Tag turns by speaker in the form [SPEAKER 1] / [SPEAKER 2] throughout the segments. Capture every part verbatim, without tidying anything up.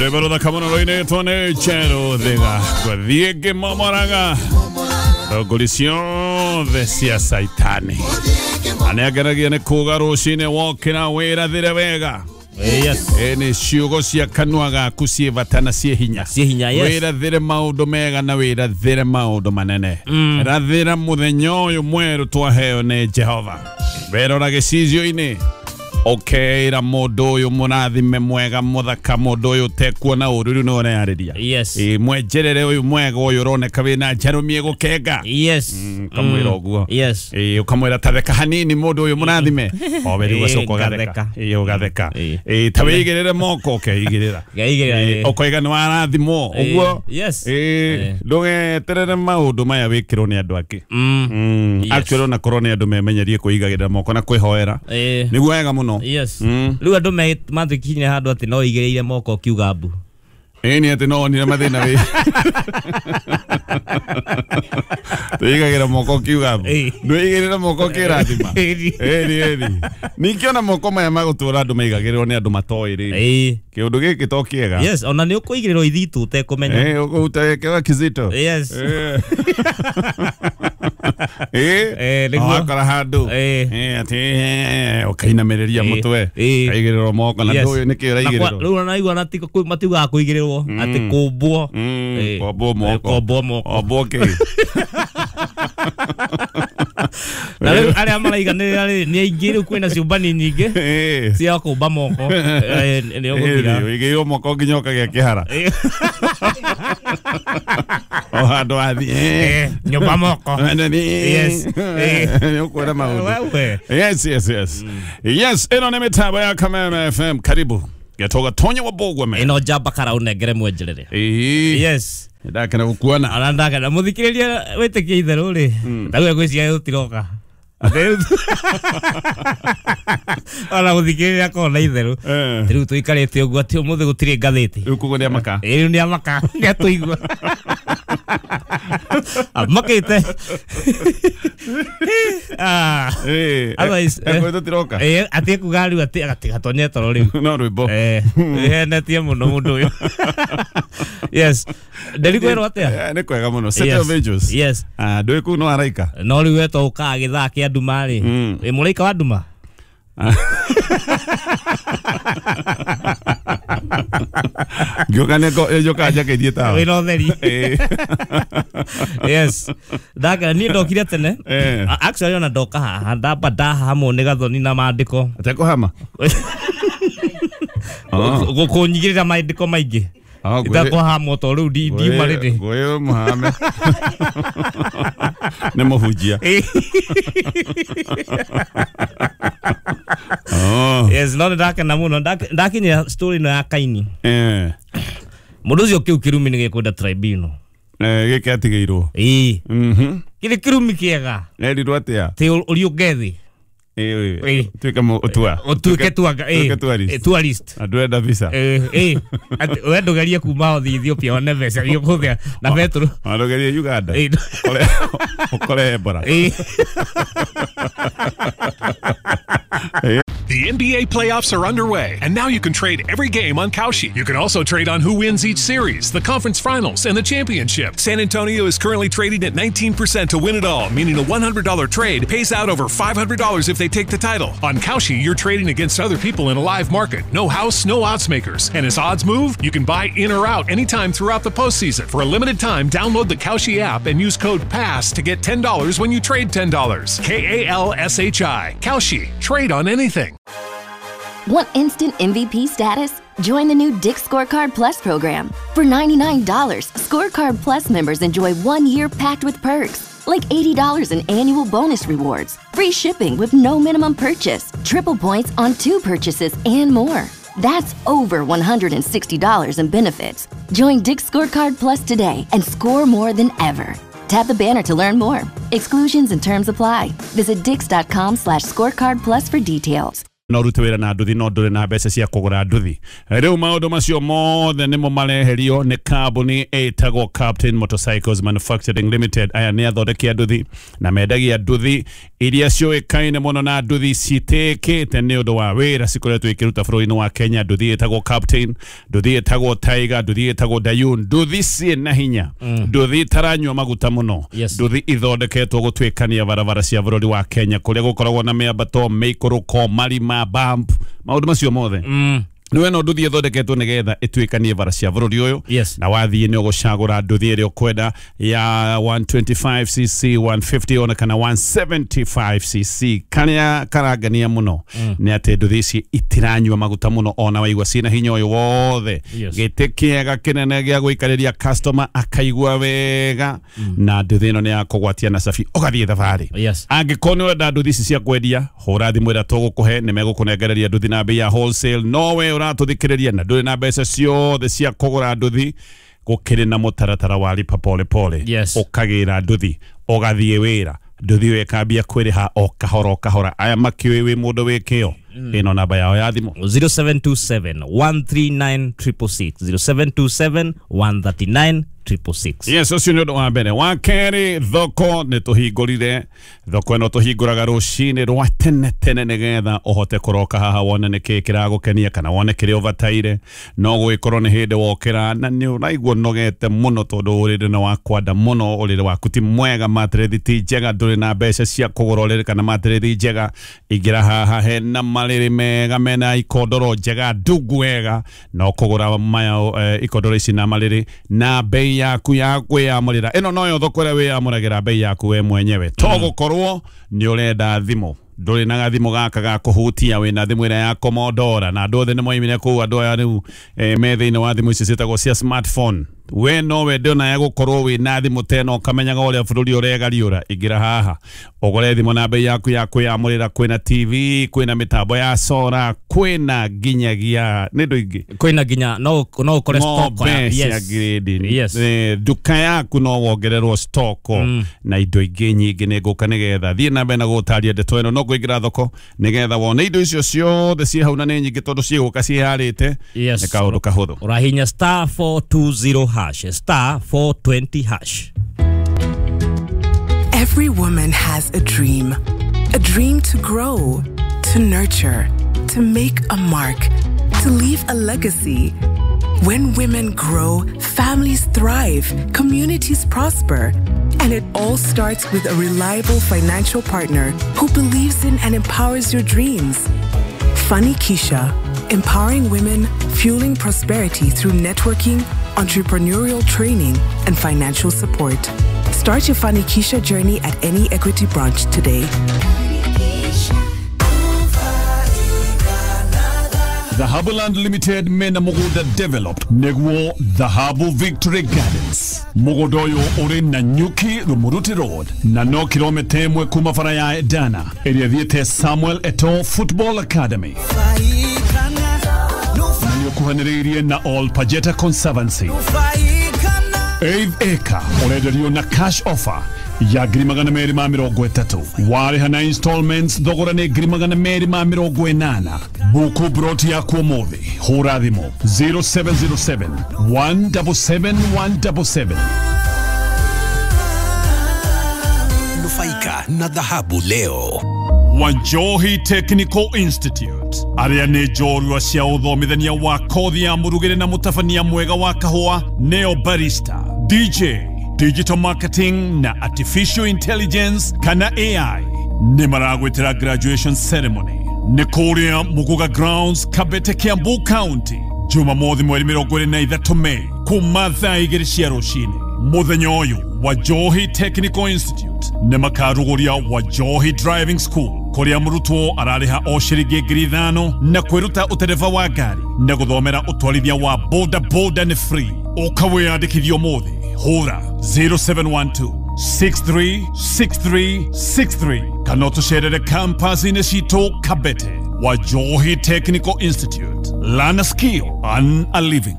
[SPEAKER 1] Rwĩmbo rũthaka mũno rũinĩtwo nĩ Njerũ Thiga gũthiĩ ngĩmomoraga thũngũri ciothe cia Caitani. Na nĩangeragia nĩ kuga rũcinĩ wokĩra wĩrathĩre wega.
[SPEAKER 2] Yes.
[SPEAKER 1] Ĩ nĩ ciugo cia kanua gaku ciĩ bata na ciĩ hinya.
[SPEAKER 2] Ciĩ hinya, yes.
[SPEAKER 1] Wĩrathĩre maũndũ mega na wĩrathĩre maũndũ manene.
[SPEAKER 2] Mm.
[SPEAKER 1] Rathĩra mũthenya ũyũ mwerũ twaheo nĩ Jehova. Werora gĩcicio-inĩ ũkeĩra mũndũ ũyũ mũrathime mwega mũthaka mũndũ ũyũ ũtekuona ũru rĩu nĩwe ũreyarĩria.
[SPEAKER 2] Yes.
[SPEAKER 1] Ĩ mwenjerere ũyũ mwega ũyũ ũroneka wĩna njarũmie gũkenga.
[SPEAKER 2] Yes.
[SPEAKER 1] Ũkamwĩra ũguo.
[SPEAKER 2] Yes.
[SPEAKER 1] Ĩ ũkamwĩra ta theka hanini mũndũ ũyũ mũrathime. Owe rĩu
[SPEAKER 2] Ĩ,
[SPEAKER 1] ũgacoka ũgatheka.
[SPEAKER 2] ngatheka.
[SPEAKER 1] Ĩ ũgatheka.
[SPEAKER 2] Ĩ.
[SPEAKER 1] Ĩ ta wĩigĩrĩre moko ũkeigĩrĩra.
[SPEAKER 2] Ngeigĩrĩra,
[SPEAKER 1] Ĩ,
[SPEAKER 2] ĩ.
[SPEAKER 1] ũkoiga nĩ warathimwo
[SPEAKER 2] Ĩ,
[SPEAKER 1] ũguo.
[SPEAKER 2] yes.
[SPEAKER 1] Ĩ
[SPEAKER 2] Ĩ.
[SPEAKER 1] ndũgeterere maũndũ maya wĩkĩrwo nĩ andũ angĩ.
[SPEAKER 2] Mm.
[SPEAKER 1] Mm.
[SPEAKER 2] Yes.
[SPEAKER 1] Actually ona korwo nĩ andũ memenyerie kwĩigagĩrĩra moko na kwĩhoera.
[SPEAKER 2] Ĩ.
[SPEAKER 1] Nĩguo wega mũno.
[SPEAKER 2] Yes.
[SPEAKER 1] Mm.
[SPEAKER 2] Rĩu andũ me mathikinyire handũ atĩ no igĩrĩire moko ũkiuga mbu.
[SPEAKER 1] Ĩ nĩ atĩ no onire mathĩna wĩ. Twĩigagĩra moko ũkiuga mbu.
[SPEAKER 2] Ĩ.
[SPEAKER 1] Ndwĩigĩrĩra moko ũkĩrathima.
[SPEAKER 2] Ĩ.
[SPEAKER 1] Ĩni ĩni. Ningĩ ona moko maya magũtũra andũ maigagĩrĩrwo nĩ andũ matoĩ rĩ.
[SPEAKER 2] Ĩ.
[SPEAKER 1] Kĩũndũ gĩkĩ to kĩega.
[SPEAKER 2] Yes, ona nĩ ũkũigĩrĩrwo ithitũ ũtekũmenya.
[SPEAKER 1] Ĩ ũkũruta gĩkĩwa kizito.
[SPEAKER 2] Yes.
[SPEAKER 1] Ĩ. Ĩ.
[SPEAKER 2] Ĩ, nĩguo.
[SPEAKER 1] Wakora handũ.
[SPEAKER 2] Ĩ.
[SPEAKER 1] Ĩ atĩ ĩ, ũkainamĩrĩria
[SPEAKER 2] Ĩ.
[SPEAKER 1] mũtwe.
[SPEAKER 2] Ĩ.
[SPEAKER 1] Kaigĩrĩrwo moko na
[SPEAKER 2] Yes.
[SPEAKER 1] ndũĩ nĩkĩ
[SPEAKER 2] Na kwa-
[SPEAKER 1] ũraigĩrĩrwo.
[SPEAKER 2] Rĩu ona naigua na ti- kũ- matiugaga kũigĩrĩrwo atĩ kũmbwo.
[SPEAKER 1] Mm,
[SPEAKER 2] Ĩ.
[SPEAKER 1] kombwo moko.
[SPEAKER 2] Kombwo moko.
[SPEAKER 1] Ombwo kĩ?
[SPEAKER 2] Na rĩu arĩa maraiganĩrĩra rĩ nĩ aingĩ rĩu kwĩna ciũmbani nyingĩ
[SPEAKER 1] Ĩ.
[SPEAKER 2] cia kũmba moko. Ĩ, nĩ ũgũthira.
[SPEAKER 1] Ĩ, ũigĩirwo moko nginya ũkagĩa kĩhara.
[SPEAKER 2] Ĩ.
[SPEAKER 1] O handũ wathiĩ.
[SPEAKER 2] Ĩ, nyũmba moko. Yes. Ĩ.
[SPEAKER 1] Nĩ ũkuona maũndũ.
[SPEAKER 2] Wewe.
[SPEAKER 1] Yes, yes, yes. Yes, ĩno nĩ mĩtambo ya Kameme F M. Karibu. Getoga Tonya wa Bogweme.
[SPEAKER 2] Ĩno njamba kara ũnengere mwenjerere.
[SPEAKER 1] Ĩ.
[SPEAKER 2] Yes.
[SPEAKER 1] Ndakena gũkuona.
[SPEAKER 2] Ona ndakena mũthikĩrĩria wĩtĩkie itherũ rĩ. Ndaguo ngwĩciria gũtiroka. Ona mũthikĩrĩria akorwo na itherũ.
[SPEAKER 1] Eh.
[SPEAKER 2] Rĩu tũikarĩte ũguo atĩ ũmũthĩ gũtirĩ ngathĩti.
[SPEAKER 1] Rĩu koguo nĩ amaka.
[SPEAKER 2] Ĩ, rĩu nĩ amaka, nĩ atũigua. Amakĩte. Ah.
[SPEAKER 1] Ĩ.
[SPEAKER 2] Otherwise, eh.
[SPEAKER 1] Ĩ, tũtiroka.
[SPEAKER 2] Ĩ, atĩ kuga rĩu atĩ agatigatonye toro rĩu.
[SPEAKER 1] No rwĩmbo.
[SPEAKER 2] Eh, ĩhenetie mũno mũndũ ũyũ. Yes. Ndĩrikwĩrwo atĩa?
[SPEAKER 1] Eh, nĩ kwega mũno. City
[SPEAKER 2] Yes.
[SPEAKER 1] of Angels.
[SPEAKER 2] Yes.
[SPEAKER 1] Ah, ndũĩ kũu no araika.
[SPEAKER 2] No rĩu wetwo ũkaga gĩthaa kĩa nduma rĩ.
[SPEAKER 1] Mm.
[SPEAKER 2] Ĩ mũraika wa nduma?
[SPEAKER 1] Ngĩũka nĩ njũkaga njakĩtie tawa.
[SPEAKER 2] Wĩna ũtheri.
[SPEAKER 1] Ĩ.
[SPEAKER 2] Yes. Ndakena niĩ ndokire tene.
[SPEAKER 1] Eh.
[SPEAKER 2] A- Actually ona ndoka haha ndamba ndahamwo nĩ gathoni na maandĩko.
[SPEAKER 1] Atekũhama? Ah.
[SPEAKER 2] Gũkũnyigĩrĩra maandĩko maingĩ.
[SPEAKER 1] Ah, ngwĩ-
[SPEAKER 2] Itakũhamwo to rĩu ndi- ndiuma rĩrĩ.
[SPEAKER 1] Ngwĩ mũhame. Nĩ mũhunjia.
[SPEAKER 2] Ĩ.
[SPEAKER 1] Oh.
[SPEAKER 2] Yes, no ndakena mũno. Ndak- Ndakinyĩra story ĩno ya Kaini.
[SPEAKER 1] Eh.
[SPEAKER 2] Mũndũ ũcio kĩu kĩrumi nĩ gĩkwenda tribunal.
[SPEAKER 1] Eh, gĩkĩ atigĩirwo.
[SPEAKER 2] Ĩ.
[SPEAKER 1] Mhm.
[SPEAKER 2] Kĩrĩ kĩrumi kĩega.
[SPEAKER 1] Erirwo atĩa?
[SPEAKER 2] Tĩ ũriũnge thĩ.
[SPEAKER 1] Ĩ,
[SPEAKER 2] Ĩ.
[SPEAKER 1] tuĩke mũ- tua.
[SPEAKER 2] Ũtuĩke tuanga. Ĩ.
[SPEAKER 1] Tuĩke tourist.
[SPEAKER 2] Ĩ, tourist.
[SPEAKER 1] Na ndũrenda visa.
[SPEAKER 2] Ĩ, ĩ. Atĩ we ndũgerie kuma ũthiĩ Ethiopia wone mbeca iria ũkũhũthĩra na betũrũ.
[SPEAKER 1] Ona ndũgerie Uganda.
[SPEAKER 2] Ĩ.
[SPEAKER 1] Ũkore ũkore Ebola.
[SPEAKER 2] Ĩ.
[SPEAKER 3] The N B A playoffs are underway, and now you can trade every game on Kalshi. You can also trade on who wins each series, the conference finals, and the championship. San Antonio is currently trading at nineteen percent to win it all, meaning a one hundred dollar trade pays out over five hundred dollars if they take the title. On Kalshi, you're trading against other people in a live market. No house, no odds makers. And as odds move, you can buy in or out anytime throughout the postseason. For a limited time, download the Kalshi app and use code PASS to get ten dollars when you trade ten dollars. K A L S H I. Kalshi. Trade on anything.
[SPEAKER 4] Want instant M V P status? Join the new Dick's Scorecard Plus program. For ninety-nine dollars, Scorecard Plus members enjoy one year packed with perks, like eighty dollars in annual bonus rewards, free shipping with no minimum purchase, triple points on two purchases, and more. That's over one hundred sixty dollars in benefits. Join Dick's Scorecard Plus today and score more than ever. Tap the banner to learn more. Exclusions and terms apply. Visit dicks.com slash scorecard plus for details.
[SPEAKER 1] No rute wĩra na nduthi no ndũrĩ na mbeca cia kũgũra nduthi. Rĩu maũndũ macio mothe nĩmo mareherio nĩ kambuni ĩtagwo Captain Motorcycles Manufacturing Limited. Aya nĩ athondeki a nduthi na mendagia nduthi Iria ciũĩkaine mũno na nduthi citĩkĩte nĩ ũndũ wa wĩra cikoretwo ikĩruta bũrũri-inĩ wa Kenya. Nduthi ĩtagwo Captain, nduthi ĩtagwo Tiger, nduthi ĩtagwo Dayun, nduthi ciĩ hinya, nduthi itaranyua maguta mũno, nduthi ithondeketwo gũtuĩkania barabara cia bũrũri wa Kenya kũrĩa gũkoragwo na mĩambato, mĩikũrũko, marima, bump, maũndũ macio mothe. Mm. Niwe no nduthi ithondeketwo nigetha ituikanie bara cia bũrũri ũyũ. Yes. Na wathiĩ nĩ ũgũcagũra nduthi ĩrĩa ũkwenda ya one twenty-five c c, one fifty ona kana one seventy-five c c. Karĩa karangania mũno mm. nĩ atĩ nduthi ici itiranyua maguta mũno ona waigua ciĩna hinya ũyũ wothe. Yes. Gĩtĩ kĩega kĩnene gĩa gũikarĩria customer akaigua wega mm. na nduthi ĩno nĩ ya kũgwatia na cabi ũgathiĩ thabarĩ. Yes. Angĩkorwo nĩ ũrenda nduthi ici cia kwendia, hũra thimũ ĩrĩa tũgũkũhe, nĩ megũkũnengereria nduthi na bei ya wholesale. No we ũratũthikĩrĩria na ndũrĩ na mbeca ciothe cia kũgũra nduthi, gũkĩrĩ na mũtaratara wa lipa pole pole. Yes. Ũkagĩra nduthi ũgathiĩ wĩra, nduthi ĩyo ĩkambia kwĩrĩha o kahora o kahora. Aya makĩũĩ wĩ mũndũ wĩ kĩo. Ĩno namba yao ya thimũ
[SPEAKER 2] zero seven two seven, one three nine, triple six, zero seven two seven, one three nine, triple six.
[SPEAKER 1] Yes, ũcio nĩ ũndũ wa mbere. Wa kerĩ, thoko nĩ tũhingũrire. Thoko ĩno tũhingũraga rũcinĩ rwa tene tene nĩgetha ũhote kũroka haha wone nĩkĩĩ kĩragũkenia kana wone kĩrĩa ũbataire. No gũgĩkorwo nĩ hĩndĩ wokĩra na nĩ ũraigua ũnogete mũno tondũ ũrĩrĩ nĩ wa kwanda mũno, ũrĩrĩ waku ti mwega, matĩrĩthi ti njega, ndũrĩ na mbeca cia kũgũra ũrĩrĩ kana matĩrĩthi njega. Ingĩra haha hena marĩrĩ mega mena ikondoro njega ndungu wega, no kũgũra maya eh, ikondoro ici na marĩrĩ na bei yaku ya kwĩyamũrĩra. Ĩno noyo thoko ĩrĩa wĩyamũragĩra bei yaku we mwenyewe. To gũkorwo nĩ ũrenda thimũ, ndũrĩ na gathimũ gaka ga kũhutia, wĩna thimũ ĩrĩa ya Commodore na andũ othe nĩ moimire kũu. Andũ aya rĩu eh, me thĩinĩ wa thimũ ici ciĩtagwo cia smartphone. We no wende ona ya gũkorwo wĩna thimũ ta ĩno ũkamenyaga ũrĩa bũrũri ũregariũra. Ingĩra haha ũgũre thimũ na bei yaku ya kwĩyamũrĩra. Kwĩna T V, kwĩna mĩtambo ya sora, kwĩna nginyagia nĩ indo ingĩ,
[SPEAKER 2] kwĩna nginya no no ũkore stock
[SPEAKER 1] ya yes. Grade. Yes. Eh, nduka yaku no wongererwo stock mm. na indo ingĩ nyingĩ. Nĩ ngũka nĩgetha thiĩ na mbere na gũtaria ndeto ĩno, no kũingĩra thoko nĩgetha wone indo icio ciothe ciĩ hau na nĩ nyingĩ tondũ ciĩgũka ciĩharĩte. Yes. Nĩ kaũndũ kahũthũ.
[SPEAKER 2] Ũrahinya star four two zero hash, star four twenty hash.
[SPEAKER 5] Every woman has a dream. A dream to grow, to nurture, to make a mark, to leave a legacy. When women grow, families thrive, communities prosper. And it all starts with a reliable financial partner who believes in and empowers your dreams. Fanikisha, empowering women, fueling prosperity through networking, entrepreneurial training, and financial support. Start your Fanikisha journey at any Equity branch today.
[SPEAKER 1] Dhahabu Land Limited mena mugunda developed neguo Dhahabu Victory Gardens. Mugunda uyu uri na Nyuki Rumuruti Road na no kilomita imwe kuma bara ya Edana ĩrĩa thiĩte Samuel Eto'o Football Academy. Nĩũkuhanĩrĩirie na All Pajeta Conservancy. Eighth acre ũrenderio na cash offer ya ngiri magana merĩ ma mĩrongo ĩtatũ. Warĩha na installments thogora nĩ ngiri magana merĩ ma mĩrongo ĩnana. Buku broti yaku ũmũthĩ, hũra thimũ zero seven zero seven, one seven seven, one seven seven.
[SPEAKER 6] Nufaika na dhahabu leo.
[SPEAKER 1] Wanjohi Technical Institute arĩa nĩ njorua cia ũthomithania wa kothi ya mũrugĩre na mũtabania mwega wa kahũa, neo barista, D J, digital marketing na artificial intelligence kana A I. Nĩ maragwĩtĩra graduation ceremony nĩ kũrĩa Muguga Grounds, Kabete, Kiambu County, Jumamothi mweri mĩrongo ĩrĩ na ithatũ Mei kuma thaa igĩrĩ cia rũcinĩ. Mũthenya ũyũ Wanjohi Technical Institute nĩ makarugũria Wanjohi Driving School kũrĩa mũrutwo ararĩha o ciringi ngiri ithano na kwĩruta ũtereba wa ngari na gũthomera ũtwarithia wa boda boda nĩ free. Ũka wĩyandĩkithie ũmũthĩ, hũra zero seven one two, six three six three six three kana ũtũcerere campus-inĩ citũ Kabete. Wanjohi Technical Institute, learn a skill, earn a living.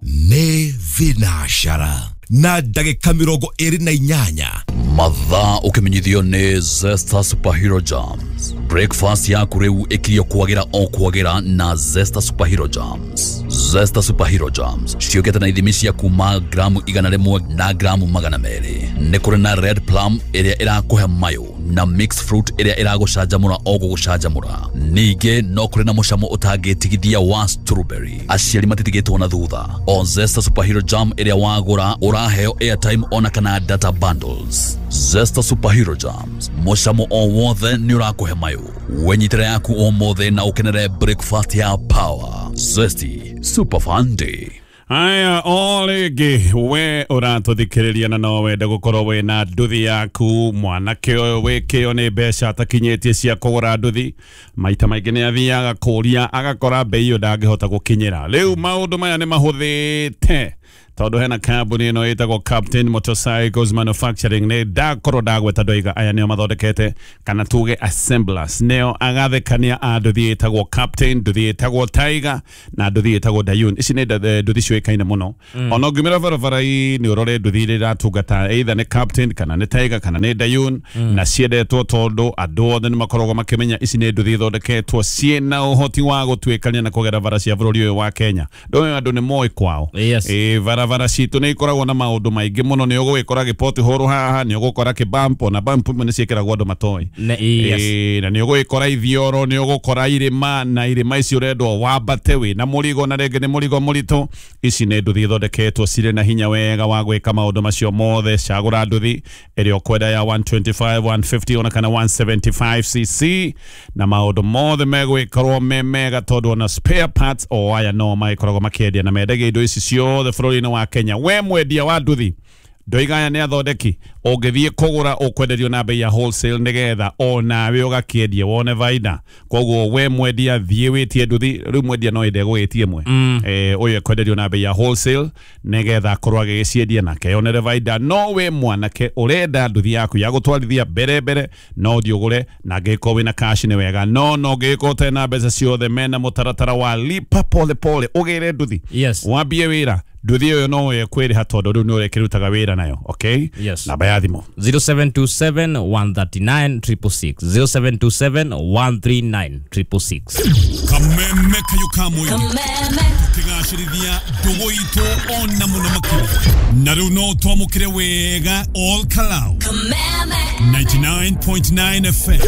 [SPEAKER 6] Nĩ Vinashara na ndagĩka mĩrongo ĩrĩ na inyanya.
[SPEAKER 7] Mathaa ũkĩmenyithio nĩ Zesta Superhero Jams. Breakfast yaku rĩu ĩkirio kwagĩra o kwagĩra na Zesta Superhero Jams. Zesta Superhero Jams ciũkĩte na ithimi cia kuma gramu igana rĩmwe na gramu magana merĩ. Nĩ kũrĩ na red plum ĩrĩa ĩrakũhe mayũ Na mixed fruit ĩrĩa ĩragũcanjamũra o gũgũcanjamũra. Ningĩ no kũrĩ na mũcamo ũtangĩtigithia wa strawberry. Aciari matitigĩtwo na thutha. O Zesta Superhero Jam ĩrĩa wagũra ũraheo airtime ona kana data bundles. Zesta Superhero Jams, mũcamo o wothe nĩ ũrakũhe mayũ. Wenyitĩra yaku ũmũthĩ na ũkenere breakfast ya power. Zesty Super Fun Day.
[SPEAKER 1] Aya, o rĩngĩ we ũratũthikĩrĩria na no wende gũkorwo wĩna nduthi yaku. Mwanake ũyũ wĩkĩo nĩ mbeca atakinyĩtie cia kũgũra nduthi, maita maingĩ nĩ athiaga kũria agakora bei ĩyo ndangĩhota gũkinyĩra. Rĩu maũndũ maya nĩ mahũthĩte tondũ hena kambuni ĩno ĩtagwo Captain Motorcycles Manufacturing. Nĩ ndakorwo ndagweta ndoiga aya nĩo mathondekete kana tuge assemblers, nĩo agathekania a nduthi ĩtagwo Captain, nduthi ĩtagwo Tiger na nduthi ĩtagwo Dayun. Ici nĩ nduthi ciũĩkaine mũno. mm. Ona ũngĩumĩra barabara-inĩ ũrore nduthi iria iratungata either nĩ Captain kana nĩ Tiger kana nĩ Dayun. mm. Na ciendetwo tondũ andũ othe nĩ makoragwo makĩmenya ici nĩ nduthi ithondeketwo ciĩna ũhoti wa gũtuĩkania na kũgera bara cia bũrũri ũyũ wa Kenya. Ndũĩ andũ nĩ moĩ kwao.
[SPEAKER 2] Yes.
[SPEAKER 1] Ĩ barabara citũ nĩ ikoragwo na maũndũ maingĩ mũno. Nĩ ũgũgĩkora gĩpoti hũrũ haha, nĩ ũgũkora kĩbampo, na bampo imwe nĩ ciĩkĩragwo andũ matoĩ.
[SPEAKER 2] Yes.
[SPEAKER 1] Ĩ, na nĩ ũgũgĩkora ithioro, nĩ ũgũkora irĩma, na irĩma ici ũrendwo wambate wĩ na mũrigo, na rĩngĩ nĩ mũrigo mũritũ. Ici nĩ nduthi ithondeketwo cirĩ na hinya wega wa gwĩka maũndũ macio mothe. Cagũra nduthi ĩrĩa ũkwenda ya one twenty-five, one fifty ona kana one seventy-five c c, na maũndũ mothe megwĩkorwo me mega tondũ ona spare parts o aya no magĩkoragwo makĩendia na mendagia indo ici ciothe bũrũri-inĩ wa Kenya. We mwendia wa nduthi, ndoiga aya nĩ athondeki, ũngĩthiĩ kũgũra ũkwenderio na bei ya wholesale nĩgetha onawe ũgakĩendia wone baida. Koguo we mwendia thiĩ wĩtie nduthi. Rĩu mwendia no ende gũgĩtie ĩmwe, eh ũyũ ekwenderio na bei ya wholesale nĩgetha akorwo agĩgĩciendia nake yonere baida. No we mwanake ũrenda nduthi yaku ya gũtwarithia mbere mbere, no ũthiĩ ũgũre, na angĩkorwo wĩna cash nĩ wega, no no ũngĩgĩkorwo ũtarĩ na mbeca ciothe, mena mũtaratara wa lipa pole pole ũgĩre nduthi.
[SPEAKER 2] Yes.
[SPEAKER 1] Wambie wĩra nduthi ĩyo no ĩkwĩrĩha tondũ rĩu nĩ ũrĩkĩrutaga wĩra nayo. Okay.
[SPEAKER 2] Yes.
[SPEAKER 1] Namba ya thimũ
[SPEAKER 2] zero seven two seven, one three nine, triple six, zero seven two seven, one three nine, triple six.
[SPEAKER 1] Kameme kayo ka mũingĩ tũkĩgacĩrithia ndũgũ itũ ona mũno makĩria, na rĩu no twamũkĩre wega all Kalau ninety-nine point nine F M.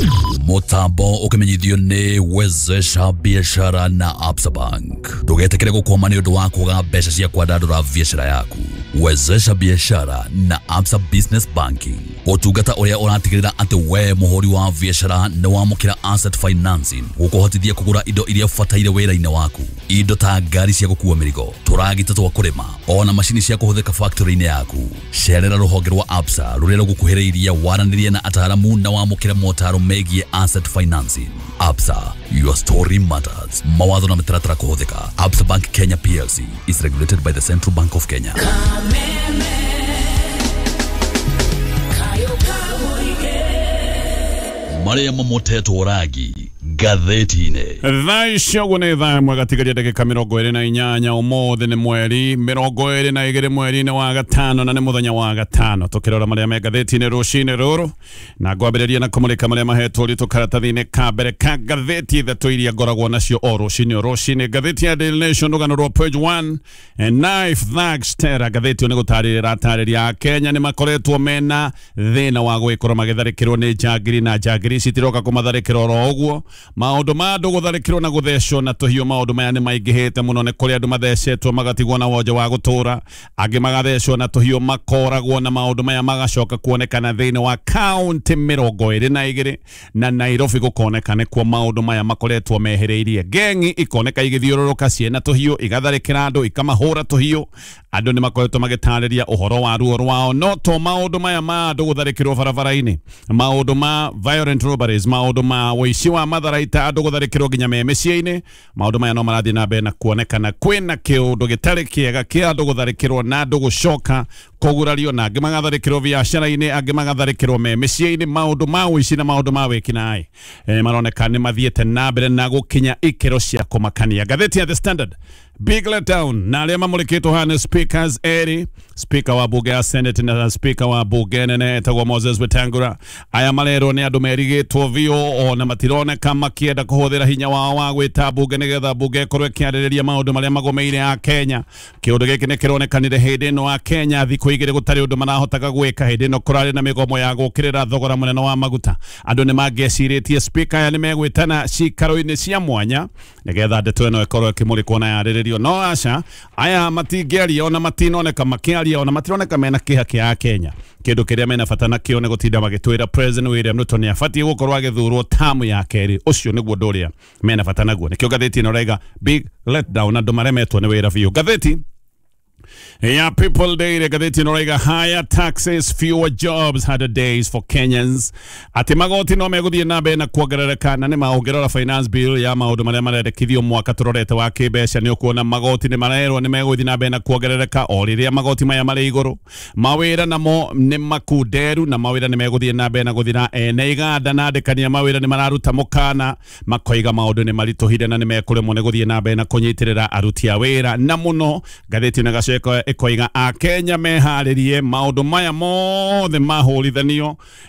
[SPEAKER 7] Mũtambo ũkĩmenyithio nĩ Wezesha Biashara na Absa Bank. Ndũgetĩkĩre gũkwama nĩ ũndũ wa kwaga mbeca cia kwandandũra biashara yaku. Wezesha Biashara na Absa Business Banking, ũtungata ũrĩa ũratigĩrĩra atĩ we mũhũri wa biashara nĩ wamũkĩra asset financing gũkũhotithia kũgũra indo iria ũbataire wĩra-inĩ waku, indo ta ngari cia gũkua mĩrigo, tũragita twa kũrĩma, ona macini cia kũhũthĩka factory-inĩ yaku. Cerera rũhonge rwa Absa rũrĩa rũgũkuhĩrĩirie, waranĩrie na ataaramu na wamũkĩre motaro megiĩ asset financing. Absa, your story matters. Mawatho na mĩtaratara kũhũthĩka. Absa Bank Kenya P L C is regulated by the Central Bank of Kenya. Maria mamotetwo rangi ngathĩti-inĩ.
[SPEAKER 1] Thaa icio ũguo nĩ thaa ĩmwe gatigaria ndagĩka mĩrongo ĩrĩ na inyanya. Ũmũthĩ nĩ mweri mĩrongo ĩrĩ na igĩrĩ mweri-inĩ wa gatano, na nĩ mũthenya wa gatano. Tũkĩrora marĩa me ngathĩti-inĩ rũcinĩ rũrũ, na ngwambĩrĩria na kũmũrĩka marĩa mahetwo ũritũ karatathi-inĩ ka mbere ka ngathĩti ithatũ iria ngoragwo nacio o rũcinĩ o rũcinĩ. Ngathĩti ya Daily Nation, rũgano rwa page one, knife thugs terror. Ngathĩti ĩyo nĩ gũtarĩria ĩratarĩria Akenya nĩ makoretwo mena thĩna wa gwĩkorwo magĩtharĩkĩrwo nĩ njangiri, na njangiri ici itiroka kũmatharĩkĩra oro ũguo. Maũndũ ma andũ gũtharĩkĩrwo na gũthecwo na tũhiũ, maũndũ maya nĩ maingĩhĩte mũno. Nĩ kũrĩ andũ mathecetwo magatigwo na wonje wa gũtũra, angĩ magathecwo na tũhiũ makoragwo, na maũndũ maya magacoka kuonekana thĩinĩ wa kaunti mĩrongo ĩrĩ na igĩrĩ, na Nairobi gũkoneka nĩkuo maũndũ maya makoretwo mehereirie. Gengi ikoneka igĩthiũrũrũka ciĩna tũhiũ, igatharĩkĩra andũ, ikamahũra tũhiũ. Andũ nĩ makoretwo magĩtarĩria ũhoro wa ruo rwao, no to maũndũ maya ma andũ gũtharĩkĩrwo barabara-inĩ, maũndũ ma violent robberies, maũndũ ma ũici wa matharaita, andũ gũtharĩkĩrwo nginya me mĩciĩ-inĩ. Maũndũ maya no marathiĩ na mbere na kuonekana kwĩna kĩũndũ gĩtarĩ kĩega kĩa andũ gũtharĩkĩrwo na andũ gũcoka kũgurario, na angĩ magatharĩkĩrwo biacara-inĩ, angĩ magatharĩkĩrwo me mĩciĩ-inĩ. Maũndũ ma ũici na maũndũ ma wĩkinaĩ eh, maroneka nĩ mathiĩte na mbere na gũkinya ikĩro cia kũmakania. Ngathĩti ya The Standard Big letdown na arĩa mamũrĩkĩtwo haha nĩ speakers erĩ, speaker wa bunge ya Senate na speaker wa bunge nene etagwo Moses Wetangula. Aya marerwo nĩ andũ merigĩtwo biũ, ona matironeka makĩenda kũhũthĩra hinya wao wa gwĩta bunge nĩgetha bunge ĩkorwo ĩkĩarĩrĩria maũndũ marĩa magũmĩire a Kenya. Kĩũndũ gĩkĩ nĩ kĩronekanire hĩndĩ ĩno a Kenya thikũ igĩrĩ gũtarĩ ũndũ marahotaga gwĩka. Hĩndĩ ĩno kũrarĩ na mĩgomo ya gũkĩrĩra thogora mũnene wa maguta. Andũ nĩ mangĩecirĩtie speaker aya nĩ megwĩtana cikaro-inĩ cia mwanya nĩgetha ndeto ĩno ĩkorwo ĩkĩmũrĩkwo na yarĩrĩrio, no aca, aya matingĩaria, ona matinoneka makĩaria, ona matironeka mena kĩha kĩa Kenya. Kĩndũ kĩrĩa mena bata nakĩo nĩ gũtinda magĩtwĩra President William Ruto nĩ abatiĩ gũkorwo agĩthurwo tamu ya kerĩ. Ũcio nĩguo ũndũ ũrĩa mena bata naguo. Nĩkĩo ngathĩti ĩno ĩraiga big letdown, andũ maremetwo nĩ wĩra biũ. Ngathĩti ya People Daily, ngathĩti ĩno ĩraiga higher taxes, fewer jobs, harder days for Kenyans, atĩ magoti no megũthiĩ na mbere na kuongerereka. Na nĩ ma, ũngĩrora finance bill ya maũndũ marĩa marendekithio mwaka tũrorete wa kĩmbeca, nĩ ũkuona magoti nĩ marerwo nĩ megũthiĩ na mbere na kuongerereka. O rĩrĩa magoti maya marĩ igũrũ, mawĩra namo nĩ makunderu na mawĩra nĩ megũthiĩ na mbere na gũthira. Ene iganda na andĩkani a mawĩra nĩ mararuta mũkana, makoiga maũndũ nĩ maritũhire na nĩ mekũremwo nĩ gũthiĩ na mbere na kũnyitĩrĩra aruti a wĩra. Na mũno ngathĩti ĩno ĩgacoka ĩkoiga Akenya meharĩrie maũndũ maya mothe mahũrithanio.